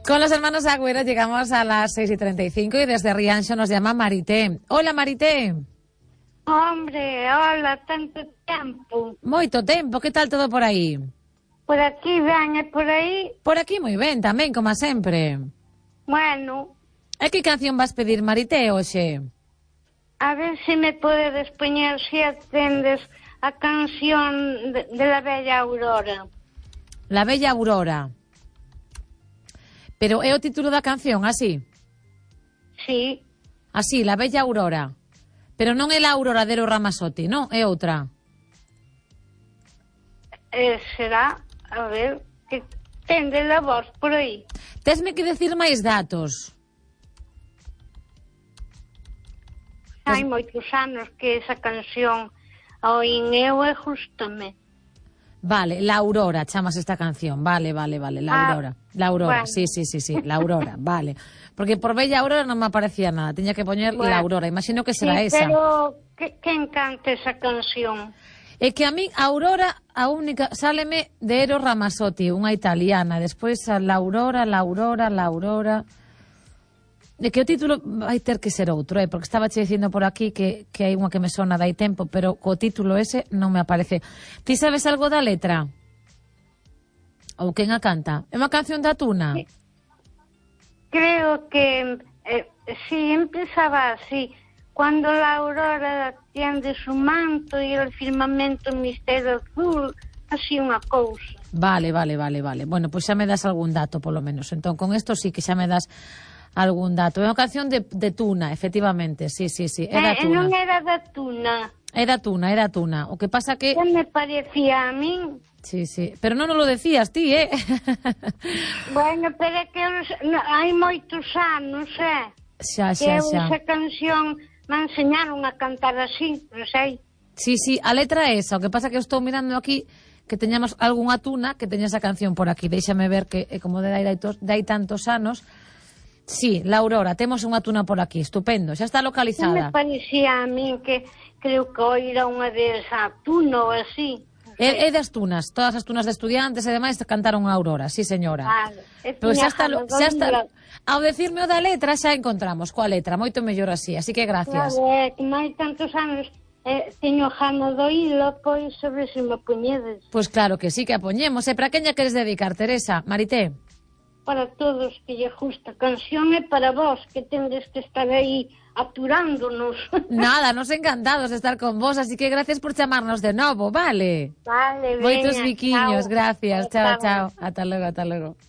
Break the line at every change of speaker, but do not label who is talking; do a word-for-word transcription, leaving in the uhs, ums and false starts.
Con los hermanos Agüero llegamos a las seis y treinta y cinco y desde Rianxo nos llama Marité. Hola, Marité.
Hombre, hola, tanto tempo.
Moito tempo, que tal todo por aí?
Por aquí ben, e por aí?
Por aquí moi ben, tamén, como sempre.
Bueno.
E que canción vas pedir, Marité, hoxe?
A ver se me podes poñer, se atendes, a canción de, de La Bella Aurora.
La Bella Aurora. Pero é o título da canción, así?
Sí.
Así, La Bella Aurora. Pero non é la Aurora de Eros Ramazzotti, non? É outra.
Eh, será, a ver, que tende a voz por aí.
Tesme que decir máis datos.
Hai moitos anos que esa canción a oín eu e gústame.
Vale, La Aurora, chamas esta canción. Vale, vale, vale, La Aurora. Ah, la Aurora, bueno. sí, sí, sí, sí, La Aurora, vale. Porque por Bella Aurora non me aparecía nada, teña que poñer bueno, La Aurora, imagino que será
sí,
esa.
Pero, que, que encanta esa canción?
É que a mí, a Aurora, a única, sáleme de Eros Ramazzotti, unha italiana, despois a La Aurora, La Aurora, La Aurora... É que o título vai ter que ser outro, eh? Porque estaba che dicindo por aquí que, que hai unha que me sona dai tempo, pero co título ese non me aparece. Ti sabes algo da letra? Ou quen a canta? É unha canción da Tuna?
Sí. Creo que eh, sí, empezaba así. Cuando la aurora tiende su manto y el firmamento misterio azul, así unha cousa.
Vale, vale, vale, vale. Bueno, pois pues xa me das algún dato, polo menos. Entón, con isto sí que xa me das algún dato. É unha canción de, de Tuna, efectivamente. Sí, sí, sí. É da
eh,
Tuna.
Non era da Tuna.
É da Tuna, é da Tuna. O que pasa que...
Que me parecía a min.
Sí, sí. Pero non lo decías ti, eh?
Bueno, pero é que no, hai moitos anos, eh?
Xa, xa,
que eu
xa.
esa canción me enseñaron a cantar así, non sei.
Sí, sí, a letra é esa. O que pasa que eu estou mirando aquí que teñamos algunha Tuna que teña esa canción por aquí. Déixame ver que, eh, como de hai, de hai tantos anos... Sí, La Aurora, temos unha Tuna por aquí, estupendo, xa está localizada.
Me parecía a min que creo que oira unha desa Tuna ou así.
É, é das Tunas, todas as Tunas de estudiantes e demais cantaron a Aurora, sí señora.
Vale.
Pero xa está, xa está, ao decirme o da letra xa encontramos coa letra, moito mellor así, así que gracias.
Claro, é que máis tantos anos eh, teño gana do hilo, pois sobre se me poñedes.
Pois claro que sí que a poñemos, e para quen lle queres dedicar, Teresa, Marité?
Para todos que lle gusta canción e para vos que tendes que estar aí aturándonos.
Nada, nos encantados de estar con vos, así que gracias por chamarnos de novo, vale?
Vale, veña.
Moitos biquiños,
Chao.
gracias, chao, chao,
Chao.
ata logo, ata logo.